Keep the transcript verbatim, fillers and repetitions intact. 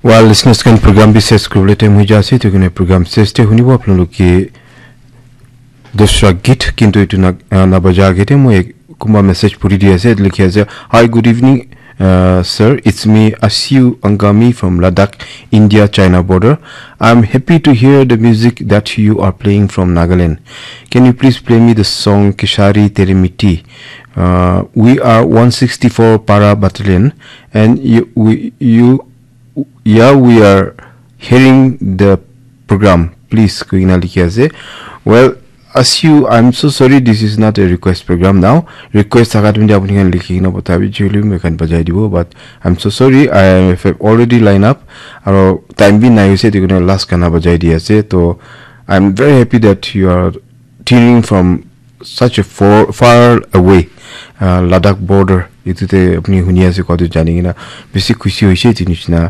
While listeners khan program bi ses kuribole time hoi ja ase, etu karne program ses te hunibo apnaloke dusra git, kintu etu na, ah, nabaja age te moi ek kunba message puri di ase, likhi ase, "Hi, good evening, uh, sir. It's me, Asiu Angami from Ladakh, India, China border. I'm happy to hear the music that you are playing from Nagaland. Can you please play me the song Kishari Tere Mitti? Uh, we are one sixty-four Para Battalion, and you, we, you, yeah, we are hearing the program. Please," koina likhi ase. Well, Asiu, I'm so sorry, this is not a request program now. Request thaka time te apni khan likhi kena pathabi, chuli moi khan bajai dibo, but I'm so sorry, I have already line up. Aro time bi nai hoise, etu karne last gana bajai di ase. To I'm very happy that you are tuning from such a far, far away, uh, Ladakh border. Etu te apni huni ase koa tu jani kena bisi khushi hoise etu nishina.